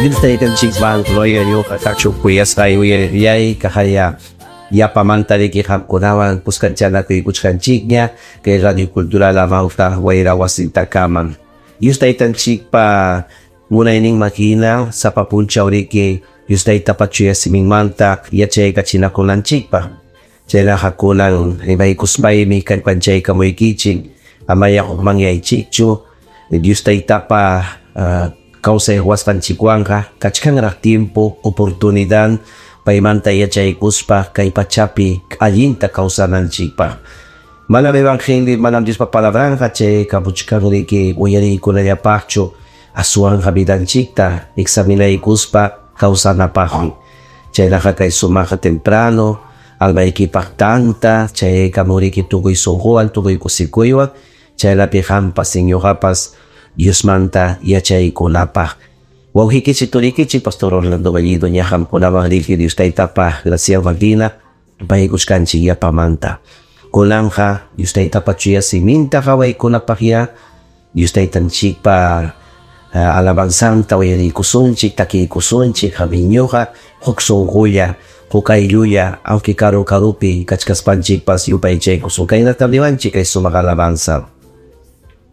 Dios taytanchikman gloria ñuqa kachun kuyasqay uyariyay kahaya yapamanta riki qamkunawan kuskanchanakuykuchkanchikña kay Radio Cultural Amawta wayra wasintakaman. Dios taytanchikpa munayninman hina sapa punchaw riki Dios taytapa chuya siminmanta yachaykachinakunanchikpaq. Chaynaqa kunan rimaykuspaymi kallpanchaykamuykichik amaya hukmanyaychikchu Dios taytapa kawsay ruwasqanchikwanqa kachkanraq tiempo oportunidad paymanta yachaykuspa kay pachapi allinta kawsananchikpaq. Manam evangelio, manam Diospa palabranqa chay kapuchkan riki uyariykunallapaqchu aswanqa vidanchikta examinaykuspa kawsanapaqmi. Chaynaqa kay sumaqa temprano almaykipaq tanta chayaykamuriki tukuy sunquwan tukuy kusikuywan chaynapi qampas ñuqapas Diosmanta yachaykunapaq. Wawqikichik turikichik Pastor Orlando Bellido ña qamkunaman riki Dios taytapa graciawan hina paykuchkanchik yapamanta. Kunanqa Dios taytapa chuya siminta qawaykunapaqya Dios taytanchikpa alabanzanta uyariykusunchik takiykusunchik qamiñuqa huk sunqulla huk ayllulla aunque karu karupi kachkaspanchikpas yupaychaykusun. Kaynatam niwanchik kay sumaq alabanza.